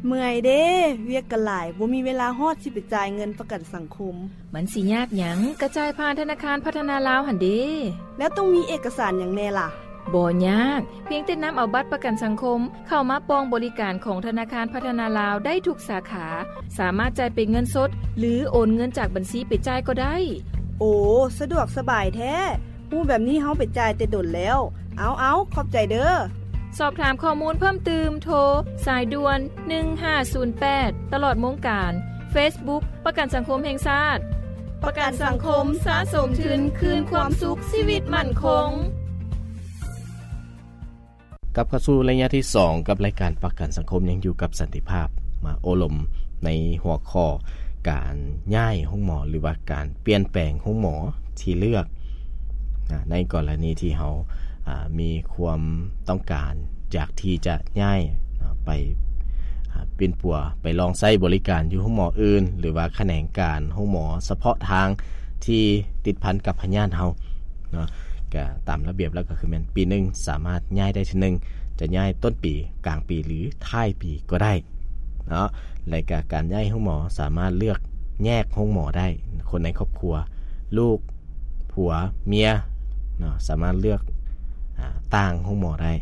ເມື່ອຍເດ້ ວຽກກະຫຼາຍ ບໍ່ມີເວລາຮອດຊິໄປຈ່າຍເງິນປະກັນສັງຄົມ. ມັນຊິຍາກຫຍັງ ກະຈ່າຍຜ່ານທະນາຄານພັດທະນາລາວຫັ້ນເດ້. ແລ້ວຕ້ອງມີເອກະສານຫຍັງແນ່ລະ? ບໍ່ຍາກ, ພຽງແຕ່ນຳເອົາບັດປະກັນສັງຄົມເຂົ້າມາປ່ອງບໍລິການຂອງທະນາຄານພັດທະນາລາວໄດ້ທຸກສາຂາ, ສາມາດຈ່າຍເປັນເງິນສົດ ຫຼື ໂອນເງິນຈາກບັນຊີໄປຈ່າຍກໍໄດ້. ໂອ ສະດວກສະບາຍແທ້. ຮູ້ແບບນີ້ເຮົາໄປຈ່າຍແຕ່ດົນແລ້ວ. ເອົາໆ ຂອບໃຈເດີ້. ສອບຖາມຂໍ້ມູນເພີ່ມຕື່ມ ໂທສາຍດ່ວນ ໜຶ່ງຫ້າສູນແປດ ຕະຫຼອດໂມງການ. ເຟສບຸກ ປະກັນສັງຄົມແຫ່ງຊາດ. ປະກັນສັງຄົມ ສະສົມທຶນ ຄືນຄວາມສຸກ ຊີວິດໝັ້ນຄົງ. ກັບເຂົ້າສູ່ໄລຍະທີສອງ ກັບລາຍການປະກັນສັງຄົມ ຍັງຢູ່ກັບສັນຕິພາບ ມາໂອ້ລົມໃນຫົວຂໍ້ການຍ້າຍໂຮງໝໍ ຫຼືວ່າການປ່ຽນແປງໂຮງໝໍທີ່ເລືອກ ອາ ໃນກໍລະນີທີ່ເຮົາ ອາ ມີຄວາມຕ້ອງການຢາກທີ່ຈະຍ້າຍ ອາ ໄປ ອາ ປິ່ນປົວ ໄປລອງໃຊ້ບໍລິການຢູ່ໂຮງໝໍອື່ນ ຫຼືວ່າຂະແໜງການໂຮງໝໍສະເພາະທາງທີ່ຕິດພັນກັບພະຍາດເຮົາ ເນາະ ກະຕາມລະບຽບແລ້ວກະຄືແມ່ນປີໜຶ່ງສາມາດຍ້າຍໄດ້ເທື່ອໜຶ່ງ, ຈະຍ້າຍຕົ້ນປີ, ກາງປີ ຫຼື ທ້າຍປີກໍໄດ້ເນາະ. ແລະກະການຍ້າຍໂຮງໝໍສາມາດເລືອກແຍກໂຮງໝໍໄດ້, ຄົນໃນຄອບຄົວ, ລູກ, ຜົວ, ເມຍເນາະ ສາມາດເລືອກ ອາ ຕ່າງໂຮງໝໍໄດ້.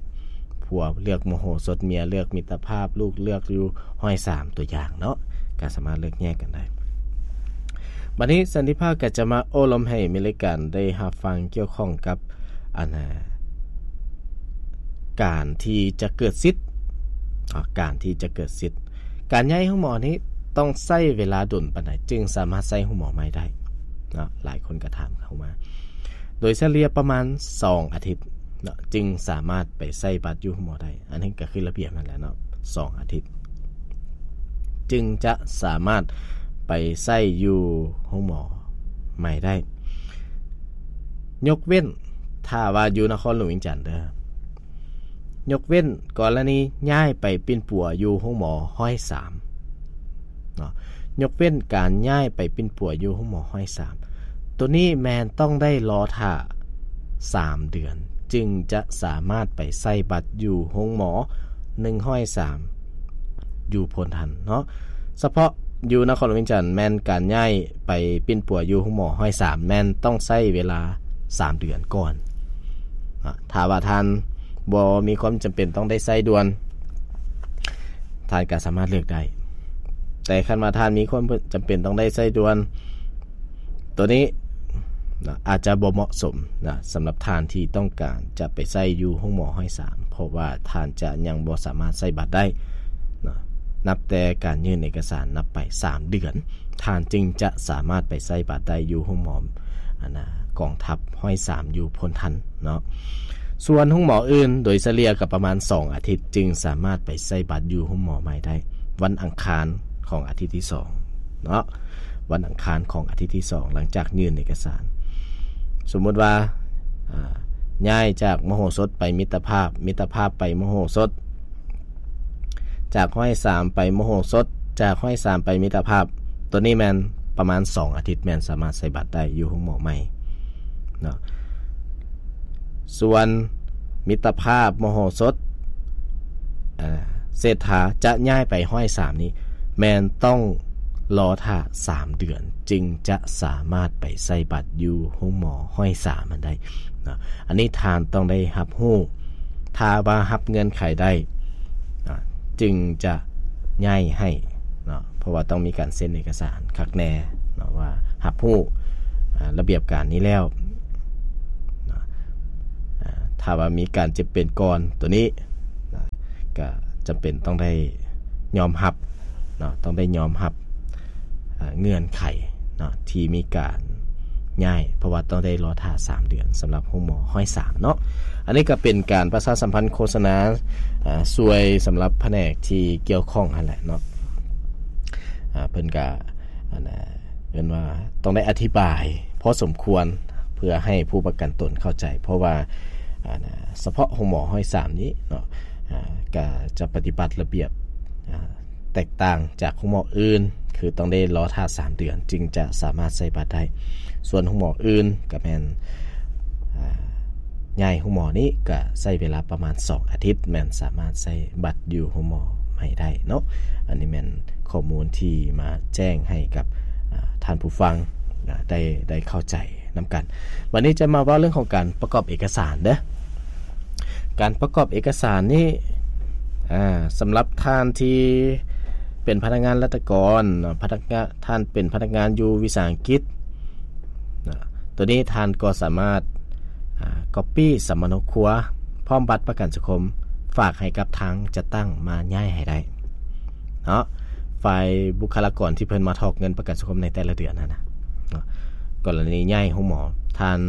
ຜົວເລືອກມະໂຫສົດ, ເມຍເລືອກມິດຕະພາບ, ລູກເລືອກຢູ່ຮ້ອຍສາມ ຕົວຢ່າງເນາະ, ກໍສາມາດເລືອກແຍກກັນໄດ້. ບັດນີ້ສັນຕິພາບກໍຈະມາໂອ້ລົມໃຫ້ແມ່ນລາຍການໄດ້ຮັບຟັງກ່ຽວຂ້ອງກັບ ອັນນ່າ ການທີ່ຈະເກີດສິດ ອາ ການທີ່ຈະເກີດສິດ ການຍ້າຍໂຮງໝໍນີ້ຕ້ອງໃຊ້ເວລາດົນປານໃດ ຈຶ່ງສາມາດໃຊ້ໂຮງໝໍໃໝ່ໄດ້ເນາະ? ຫຼາຍຄົນກໍຖາມເຂົ້າມາ. ໂດຍສະເລ່ຍປະມານສອງອາທິດເນາະ ຈຶ່ງສາມາດໄປໃຊ້ບັດຢູ່ໂຮງໝໍໄດ້. ອັນນີ້ກໍຄືລະບຽບນັ້ນແຫຼະເນາະ, ສອງອາທິດຈຶ່ງຈະສາມາດໄປໃຊ້ຢູ່ໂຮງໝໍໃໝ່ໄດ້. ຍົກເວັ້ນຖ້າວ່າຢູ່ນະຄອນຫຼວງວຽງຈັນເດີ້, ຍົກເວັ້ນກໍລະນີຍ້າຍໄປປິ່ນປົວຢູ່ໂຮງໝໍຮ້ອຍສາມເນາະ, ຍົກເວັ້ນການຍ້າຍໄປປິ່ນປົວຢູ່ໂຮງໝໍຮ້ອຍສາມ ໂຕນີ້ແມ່ນຕ້ອງໄດ້ລໍຖ້າສາມເດືອນ ຈຶ່ງຈະສາມາດໄປໃຊ້ບັດຢູ່ໂຮງໝໍໜຶ່ງຮ້ອຍສາມ ຢູ່ໂພນທັນເນາະ. ສະເພາະຢູ່ນະຄອນຫຼວງວຽງຈັນ ແມ່ນການຍ້າຍໄປປິ່ນປົວຢູ່ໂຮງໝໍຮ້ອຍສາມ ແມ່ນຕ້ອງໃຊ້ເວລາສາມເດືອນກ່ອນ. ອາ ຖ້າວ່າທ່ານບໍ່ມີຄວາມຈຳເປັນຕ້ອງໄດ້ໃຊ້ດ່ວນ, ທ່ານກໍສາມາດເລືອກໄດ້. ແຕ່ຄັນວ່າທ່ານມີຄວາມຈຳເປັນຕ້ອງໄດ້ໃຊ້ດ່ວນ, ໂຕນີ້ນະ ອາດຈະບໍ່ເໝາະສົມນະ ສຳລັບທ່ານທີ່ຕ້ອງການຈະໄປໃຊ້ຢູ່ໂຮງໝໍຮ້ອຍສາມ ເພາະວ່າທ່ານຈະຍັງບໍ່ສາມາດໃຊ້ບັດໄດ້ນະ. ນັບແຕ່ການຍື່ນເອກະສານນັບໄປສາມເດືອນ ທ່ານຈຶ່ງຈະສາມາດໄປໃຊ້ບັດໄດ້ຢູ່ໂຮງໝໍ ອັນນະ ກອງທັບຮ້ອຍສາມ ຢູ່ໂພນທັນເນາະ. ສ່ວນໂຮງໝໍອື່ນ ໂດຍສະເລ່ຍກໍປະມານສອງອາທິດ ຈຶ່ງສາມາດໄປໃຊ້ບັດຢູ່ໂຮງໝໍໃໝ່ໄດ້. ວັນອັງຄານຂອງອາທິດທີສອງເນາະ, ວັນອັງຄານຂອງອາທິດທີສອງ ຫຼັງຈາກຍື່ນເອກະສານ. ສົມມຸດວ່າ ອາ ຍ້າຍຈາກມະໂຫສົດໄປມິດຕະພາບ, ມິດຕະພາບໄປມະໂຫສົດ, ຈາກຮ້ອຍສາມໄປມະໂຫສົດ, ຈາກຮ້ອຍສາມໄປມິດຕະພາບ, ໂຕນີ້ແມ່ນປະມານສອງອາທິດ ແມ່ນສາມາດໃຊ້ບັດໄດ້ຢູ່ໂຮງໝໍໃໝ່ເນາະ. ສ່ວນມິດຕະພາບມະໂຫສົດ ເສດຖາຈະຍ້າຍໄປຮ້ອຍສາມນີ້ ແມ່ນຕ້ອງລໍຖ້າສາມເດືອນ ຈຶ່ງຈະສາມາດໄປໃຊ້ບັດຢູ່ໂຮງໝໍຮ້ອຍສາມຫັ້ນໄດ້ເນາະ. ອັນນີ້ທ່ານຕ້ອງໄດ້ຮັບຮູ້, ຖ້າວ່າຮັບເງື່ອນໄຂໄດ້ ອາ ຈຶ່ງຈະຍ້າຍໃຫ້ເນາະ, ເພາະວ່າຕ້ອງມີການເຊັນເອກະສານຄັກແນ່ເນາະ ວ່າຮັບຮູ້ ອາ ລະບຽບການນີ້ແລ້ວເນາະ. ອາ ຖ້າວ່າມີການເຈັບເປັນກ່ອນ ໂຕນີ້ນະ ກະຈຳເປັນຕ້ອງໄດ້ຍອມຮັບເນາະ, ຕ້ອງໄດ້ຍອມຮັບ ອາ ເງື່ອນໄຂເນາະ ທີ່ມີການຍ້າຍ, ເພາະວ່າຕ້ອງໄດ້ລໍຖ້າສາມເດືອນ ສຳລັບໂຮງໝໍຮ້ອຍສາມເນາະ. ອັນນີ້ກໍເປັນການປະຊາສຳພັນໂຄສະນາ ອາ ຊ່ວຍສຳລັບພະແນກທີ່ກ່ຽວຂ້ອງຫັ້ນແຫຼະເນາະ. ອາ ເພິ່ນກະ ອັນນະ ເອີ້ນວ່າຕ້ອງໄດ້ອະທິບາຍພໍສົມຄວນ ເພື່ອໃຫ້ຜູ້ປະກັນຕົນເຂົ້າໃຈ, ເພາະວ່າ ອັນນະ ສະເພາະໂຮງໝໍຮ້ອຍສາມນີ້ເນາະ ອາ ກະຈະປະຕິບັດລະບຽບ ອາ ແຕກຕ່າງຈາກໂຮງໝໍອື່ນ, ຄືຕ້ອງໄດ້ລໍຖ້າສາມເດືອນ ຈຶ່ງຈະສາມາດໃຊ້ບັດໄດ້. ສ່ວນໂຮງໝໍອື່ນກະແມ່ນ ອາ ຍ້າຍໂຮງໝໍນີ້ກະໃຊ້ເວລາປະມານສອງອາທິດ ແມ່ນສາມາດໃຊ້ບັດຢູ່ໂຮງໝໍ ໃຫ້ໄດ້ເນາະ. ອັນນີ້ແມ່ນຂໍ້ມູນທີ່ມາແຈ້ງໃຫ້ກັບ ອາ ທ່ານຜູ້ຟັງ ອາ ໄດ້ ໄດ້ເຂົ້າໃຈນຳກັນ. ບັດນີ້ຈະມາເວົ້າເລື່ອງຂອງການປະກອບເອກະສານເດີ້. ການປະກອບເອກະສານນີ້ ອາ ສຳລັບທ່ານທີ່ເປັນພະນັກງານລັດຖະກອນເນາະ, ພະນັກງານ ທ່ານເປັນພະນັກງານຢູ່ວິສາຫະກິດ ນະ ໂຕນີ້ທ່ານກໍສາມາດ ອາ ກັອບປີ້ສຳມະໂນຄົວ ພ້ອມບັດປະກັນສັງຄົມ ຝາກໃຫ້ກັບທາງຈັດຕັ້ງມາຍ້າຍໃຫ້ໄດ້ເນາະ. ຝ່າຍບຸກຄະລາກອນທີ່ເພິ່ນມາຖອກເງິນປະກັນສັງຄົມໃນແຕ່ລະເດືອນຫັ້ນນະເນາະ, ກໍລະນີຍ້າຍໂຮງໝໍ ທ່ານ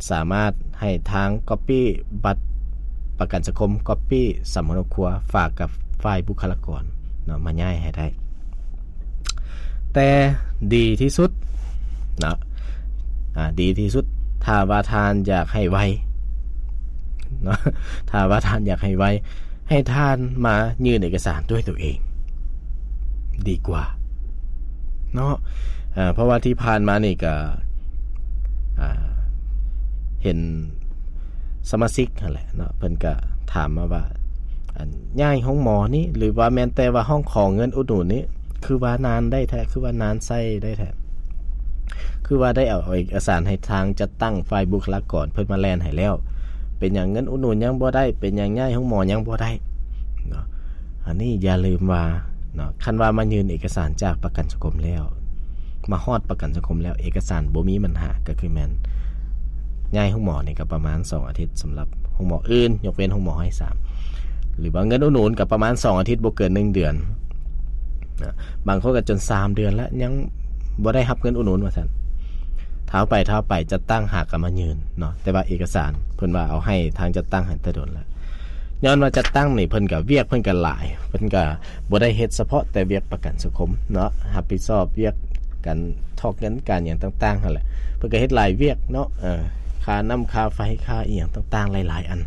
ສາມາດໃຫ້ທາງກັອບປີ້ບັດປະກັນສັງຄົມ, ກັອບປີ້ສຳມະໂນຄົວ ຝາກກັບຝ່າຍບຸກຄະລາກອນເນາະ ມາຍ້າຍໃຫ້ໄດ້. ແຕ່ດີທີ່ສຸດເນາະ ອາ ດີທີ່ສຸດ ຖ້າວ່າທ່ານຢາກໃຫ້ໄວເນາະ ຖ້າວ່າທ່ານຢາກໃຫ້ໄວ ໃຫ້ທ່ານມາຍື່ນເອກະສານດ້ວຍຕົວເອງດີກວ່າເນາະ. ເພາະວ່າທີ່ຜ່ານມານີ້ກະ ອາ ເຫັນສະມາຊິກຫັ້ນແຫຼະເນາະ ເພິ່ນກະຖາມມາວ່າ ອັນ ຍ້າຍໂຮງໝໍນີ້ ຫຼືວ່າແມ່ນແຕ່ວ່າຮ້ອງຂໍເງິນອຸດໜູນນີ້ ຄືວ່ານານໄດ້ແທ້ ຄືວ່ານານໃຊ້ໄດ້ແທ້ ຄືວ່າໄດ້ເອົາເອກະສານໃຫ້ທາງຈັດຕັ້ງຝ່າຍບຸກຄະລາກອນເພິ່ນມາແລ່ນໃຫ້ແລ້ວ ເປັນຫຍັງເງິນອຸດໜູນຍັງບໍ່ໄດ້ ເປັນຫຍັງຍ້າຍໂຮງໝໍຍັງບໍ່ໄດ້ເນາະ. ອັນນີ້ຢ່າລືມວ່າເນາະ ຄັນວ່າມາຍື່ນເອກະສານຈາກປະກັນສັງຄົມແລ້ວ ມາຮອດປະກັນສັງຄົມແລ້ວ ເອກະສານບໍ່ມີບັນຫາ ກໍຄືແມ່ນຍ້າຍໂຮງໝໍນີ້ກໍປະມານສອງອາທິດ ສຳລັບໂຮງໝໍອື່ນ ຍົກເວັ້ນໂຮງໝໍຮ້ອຍສາມ ຫຼືວ່າເງິນອຸດໜູນກໍປະມານສອງອາທິດ ບໍ່ເກີນໜຶ່ງເດືອນນະ. ບາງຄົນກໍຈົນສາມເດືອນແລ້ວ ຍັງບໍ່ໄດ້ຮັບເງິນອຸດໜູນວ່າຊັ້ນ. ທ້າວໄປທ້າວໄປ ຈັດຕັ້ງຫາກໍມາຍື່ນເນາະ ແຕ່ວ່າເອກະສານເພິ່ນວ່າເອົາໃຫ້ທາງຈັດຕັ້ງຫັ້ນແຕ່ດົນແລ້ວ. ຍ້ອນວ່າຈັດຕັ້ງນີ້ເພິ່ນກໍ ວຽກເພິ່ນກໍຫຼາຍ ເພິ່ນກໍບໍ່ໄດ້ເຮັດສະເພາະແຕ່ວຽກປະກັນສັງຄົມເນາະ, ຮັບຜິດຊອບວຽກການຖອກເງິນ ການຫຍັງຕ່າງໆຫັ້ນແຫຼະ. ເພິ່ນກໍເຮັດຫຼາຍວຽກເນາະ, ເອີ ຄ່ານ້ຳ ຄ່າໄຟ ຄ່າອີ່ຫຍັງຕ່າງໆຫຼາຍໆອັນ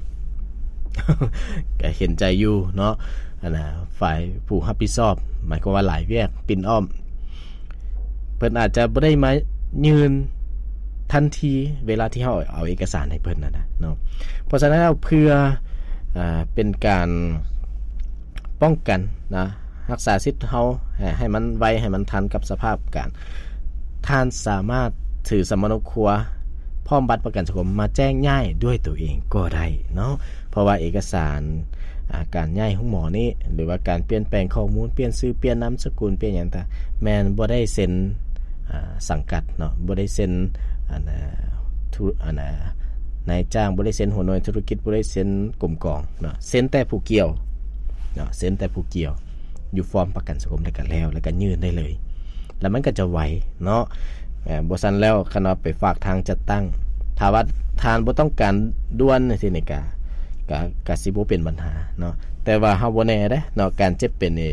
ກໍເຫັນໃຈຢູ່ເນາະ. ອັນນ່າ ຝ່າຍຜູ້ຮັບຜິດຊອບ ໝາຍຄວາມວ່າຫຼາຍວຽກປິ່ນອ້ອມ ເພິ່ນອາດຈະບໍ່ໄດ້ມາຍື່ນທັນທີເວລາທີ່ເຮົາເອົາເອກະສານໃຫ້ເພິ່ນນັ້ນນະເນາະ. ເພາະສະນັ້ນແລ້ວ ເພື່ອ ອາ ເປັນການປ້ອງກັນນະ ຮັກສາສິດເຮົາໃຫ້ ໃຫ້ມັນໄວ ໃຫ້ມັນທັນກັບສະພາບການ, ທ່ານສາມາດຖືສຳມະໂນຄົວ ພ້ອມບັດປະກັນສັງຄົມມາແຈ້ງຍ້າຍດ້ວຍຕົວເອງກໍໄດ້ເນາະ. ເພາະວ່າເອກະສານ ອາ ການຍ້າຍໂຮງໝໍນີ້ ຫຼືວ່າການປ່ຽນແປງຂໍ້ມູນ ປ່ຽນຊື່ ປ່ຽນນາມສະກຸນ ປ່ຽນຫຍັງຕ່າງ ແມ່ນບໍ່ໄດ້ເຊັນ ອາ ສັງກັດເນາະ, ບໍ່ໄດ້ເຊັນ ອັນ ອາ ທຸ ອັນ ອາ ນາຍຈ້າງ, ບໍ່ໄດ້ເຊັນຫົວໜ່ວຍທຸລະກິດ, ບໍ່ໄດ້ເຊັນກົມກອງເນາະ, ເຊັນແຕ່ຜູ້ກ່ຽວເນາະ, ເຊັນແຕ່ຜູ້ກ່ຽວ ຢູ່ຟອມປະກັນສັງຄົມ ແລ້ວກໍແລ້ວ ແລ້ວກໍຍື່ນໄດ້ເລີຍ ແລ້ວມັນກໍຈະໄວເນາະ. ເອີ ບໍ່ຊັ້ນແລ້ວ ຄັນວ່າໄປຝາກທາງຈັດຕັ້ງ ຖ້າວ່າທ່ານບໍ່ຕ້ອງການດ່ວນຈັ່ງຊີ້ນີ້ ກະ ກະ ກະຊິບໍ່ເປັນບັນຫາເນາະ. ແຕ່ວ່າເຮົາບໍ່ແນ່ເດ້ເນາະ, ການເຈັບເປັນນີ້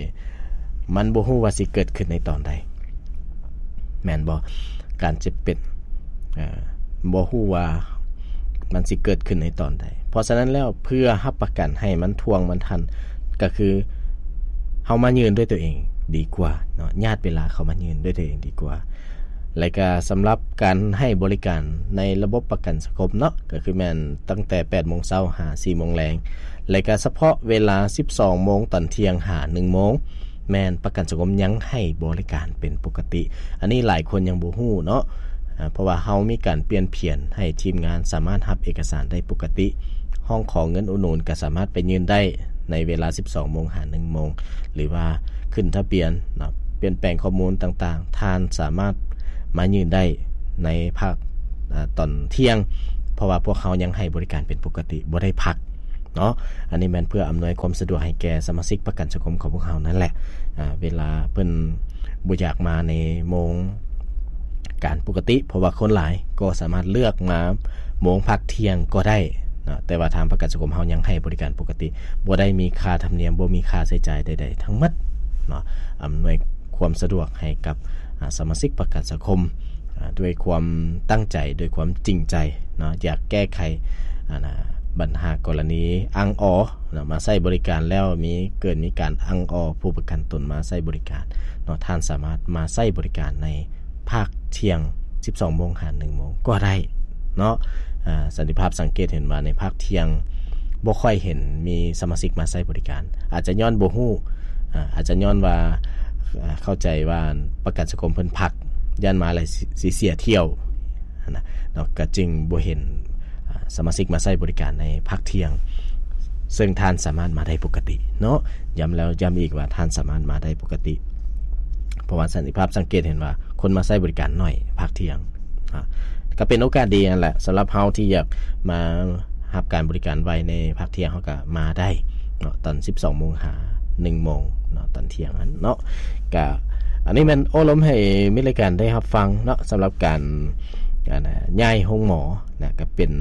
ມັນບໍ່ຮູ້ວ່າຊິເກີດຂຶ້ນໃນຕອນໃດ ແມ່ນບໍ່? ການເຈັບເປັນ ເອີ ບໍ່ຮູ້ວ່າມັນຊິເກີດຂຶ້ນໃນຕອນໃດ. ເພາະສະນັ້ນແລ້ວ ເພື່ອຮັບປະກັນໃຫ້ມັນທ່ວງມັນທັນ ກໍຄືເຮົາມາຍື່ນດ້ວຍຕົວເອງດີກວ່າເນາະ, ຍາດເວລາເຂົ້າມາຍື່ນດ້ວຍຕົວເອງດີກວ່າ. ແລະກະສຳລັບການໃຫ້ບໍລິການໃນລະບົບປະກັນສັງຄົມເນາະ, ກໍຄືແມ່ນຕັ້ງແຕ່ແປດໂມງເຊົ້າຫາສີ່ໂມງແລງ, ແລະກະສະເພາະເວລາສິບສອງໂມງຕອນທ່ຽງຫາໜຶ່ງໂມງ ແມ່ນປະກັນສັງຄົມຍັງໃຫ້ບໍລິການເປັນປົກກະຕິ. ອັນນີ້ຫຼາຍຄົນຍັງບໍ່ຮູ້ເນາະ, ເພາະວ່າເຮົາມີການປ່ຽນຜຽນໃຫ້ທີມງານສາມາດຮັບເອກະສານໄດ້ປົກກະຕິ, ຮ້ອງຂໍເງິນອຸດໜູນກໍສາມາດໄປຍື່ນໄດ້ໃນເວລາສິບສອງໂມງຫາໜຶ່ງໂມງ ຫຼືວ່າຂຶ້ນທະບຽນເນາະ, ປ່ຽນແປງຂໍ້ມູນຕ່າງໆ ທ່ານສາມາດມາຍື່ນໄດ້ໃນພາກ ອາ ຕອນທ່ຽງ, ເພາະວ່າພວກເຮົາຍັງໃຫ້ບໍລິການເປັນປົກກະຕິ ບໍ່ໄດ້ພັກ ເນາະ. ອັນນີ້ແມ່ນເພື່ອອຳນວຍຄວາມສະດວກໃຫ້ແກ່ສະມາຊິກປະກັນສັງຄົມຂອງພວກເຮົານັ້ນແຫຼະ. ອາ ເວລາເພິ່ນບໍ່ຢາກມາໃນໂມງການປົກກະຕິ ເພາະວ່າຄົນຫຼາຍ ກໍສາມາດເລືອກມາໂມງພັກທ່ຽງກໍໄດ້ເນາະ, ແຕ່ວ່າທາງປະກັນສັງຄົມເຮົາຍັງໃຫ້ບໍລິການປົກກະຕິ ບໍ່ໄດ້ມີຄ່າທຳນຽມ ບໍ່ມີຄ່າໃຊ້ຈ່າຍໃດໆທັງໝົດເນາະ. ອຳນວຍຄວາມສະດວກໃຫ້ກັບ ອາ ສະມາຊິກປະກັນສັງຄົມ ອາ ດ້ວຍຄວາມຕັ້ງໃຈ ດ້ວຍຄວາມຈິງໃຈເນາະ, ຢາກແກ້ໄຂ ອັນນ່າ ບັນຫາກໍລະນີອັ່ງອໍເນາະ, ມາໃຊ້ບໍລິການແລ້ວມີ ເກີດມີການອັ່ງອໍຜູ້ປະກັນຕົນມາໃຊ້ບໍລິການເນາະ, ທ່ານສາມາດມາໃຊ້ບໍລິການໃນພາກທ່ຽງສິບສອງໂມງຫາໜຶ່ງໂມງກໍໄດ້ເນາະ. ອາ ສັນຕິພາບສັງເກດເຫັນວ່າໃນພາກທ່ຽງ ບໍ່ຄ່ອຍເຫັນມີສະມາຊິກມາໃຊ້ບໍລິການ ອາດຈະຍ້ອນບໍ່ຮູ້ ອາ ອາດຈະຍ້ອນວ່າ ເຂົ້າໃຈວ່າປະກັນສັງຄົມເພິ່ນພັກ ຢ້ານມາແລ້ວຊິເສຍຖ້ຽວຫັ້ນນະເນາະ ກໍຈຶ່ງບໍ່ເຫັນ ອາ ສະມາຊິກມາໃຊ້ບໍລິການໃນພັກທ່ຽງ ເຊິ່ງທ່ານສາມາດມາໄດ້ປົກກະຕິເນາະ ຢ້ຳແລ້ວຢ້ຳອີກວ່າທ່ານສາມາດມາໄດ້ປົກກະຕິ ເພາະວ່າສັນຕິພາບສັງເກດເຫັນວ່າຄົນມາໃຊ້ບໍລິການໜ້ອຍພັກທ່ຽງ ອາ ກໍເປັນໂອກາດດີຫັ້ນແຫຼະ ສຳລັບເຮົາທີ່ຢາກມາຮັບການບໍລິການໄວໃນພັກທ່ຽງ ເຮົາກໍມາໄດ້ເນາະ ຕອນສິບສອງໂມງຫາໜຶ່ງໂມງເນາະ ຕອນທ່ຽງຫັ້ນເນາະ ກະ ອັນນີ້ແມ່ນໂອ້ລົມໃຫ້ມິດລາຍການໄດ້ຮັບຟັງເນາະ ສຳລັບການ ອັນນະ ຍ້າຍໂຮງໝໍນະ ກໍເປັນ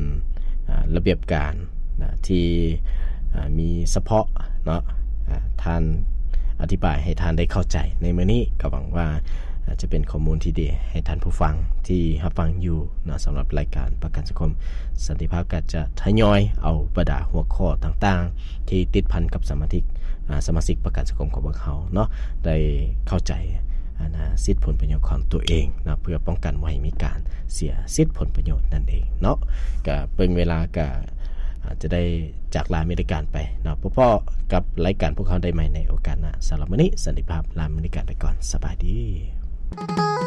ອາ ລະບຽບການນະ ທີ່ ອາ ມີສະເພາະເນາະ ອາ ທ່ານອະທິບາຍໃຫ້ທ່ານໄດ້ເຂົ້າໃຈໃນມື້ນີ້ ກໍຫວັງວ່າ ອາ ຈະເປັນຂໍ້ມູນທີ່ດີໃຫ້ທ່ານຜູ້ຟັງທີ່ຮັບຟັງຢູ່ເນາະ ສຳລັບລາຍການປະກັນສັງຄົມສັນຕິພາບ ກໍຈະທະຍອຍເອົາບັນດາຫົວຂໍ້ຕ່າງໆ ທີ່ຕິດພັນກັບສະມາຊິກ ອາ ສະມາຊິກປະກັນສັງຄົມຂອງພວກເຮົາເນາະ ໄດ້ເຂົ້າໃຈ ອັນນະ ສິດຜົນປະໂຫຍດຂອງຕົວເອງເນາະ ເພື່ອປ້ອງກັນບໍ່ໃຫ້ມີການເສຍສິດຜົນປະໂຫຍດນັ້ນເອງເນາະ ກະເບິ່ງເວລາກະ ອາດຈະໄດ້ຈາກລາມິດລາຍການໄປເນາະ ພົບພໍ້ກັບລາຍການພວກເຮົາໄດ້ໃໝ່ໃນໂອກາດໜ້າ ສຳລັບມື້ນີ້ ສັນຕິພາບ ລາມິດລາຍການໄປກ່ອນ ສະບາຍດີ.